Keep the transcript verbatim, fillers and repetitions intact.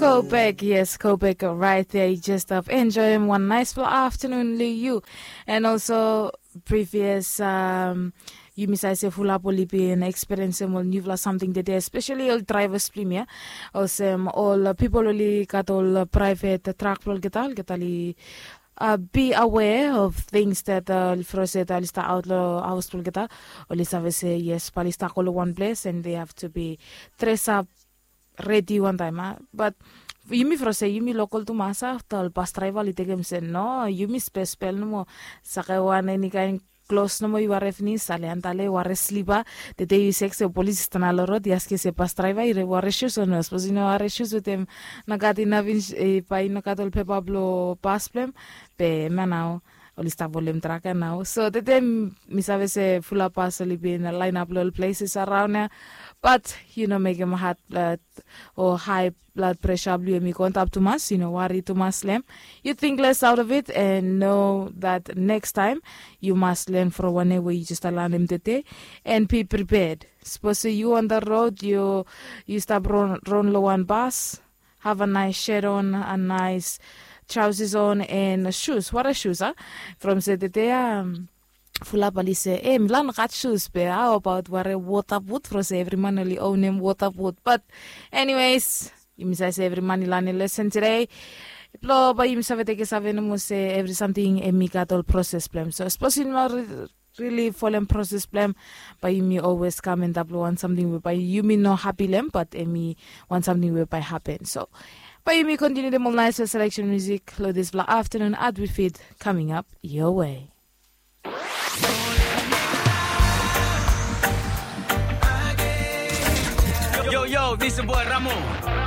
Go back, yes, go back right there. You just have enjoy him one nice full afternoon, Liu. And also, previous, um, yumi save se fulap oli bin experience ol newfala samting tede, especially ol drivers blong yumi ya. Olsem ol pipol oli gat ol private truck blong olgeta, olgeta oli uh, be aware of things that uh, from se oli stap aut long haus blong olgeta, oli save se yes, bae oli stap go long wan ples and they have to be dress up ready wantaim a. But yumi from se yumi lokol tumas a, afta ol bas draiva oli tekem se no, yumi spespel nomo. Sake wan eni kaen klos nomo yu ware finis, ale antale ware slipa. Tede yu sek se polis i stap long rod, i askem se bas draiva i ware shus o no, sapos i no ware shus wetem nogat inaf, bae i nogat ol pepa blong bas blong hem. Be hemia nao oli stap holem trak ya nao. So tede mi save se fulap bas oli bin lainap long ol places araon ya. Bat yu no mekem hat blad o hae blad presha blong yu hem i go antap tumas, yu no wari tumas long hem. Yu ting les aut of it and know that next time yu mas len from wanem we yu jes lanem tede. And be prepared. Sapos se yu on the road, yu yu stap ron ron long wan bas, have a nice shirt on, a nice trousers on and shoes. Wara shoes a? From se tede a fulap oli se e mi la no gat shoes, be how about wara water boot? From se evri man oli onem water boot. But anyways, yumi save se evri man i lanem lesen tede. Blong bae yumi save tekem save nomo se evri samting hem i gat ol proses blong hem. So sapos yu no rili folem proses blong hem, bae yumi always kam antap long wan samting we bae yumi no hapi long hem, bat hem i wan samting we bae hapen. So bae yumi kontiniu dem ol naesfala seleksen musik long disfala aftanun at we fit coming up your way. Yo, yo, this is boy Ramo.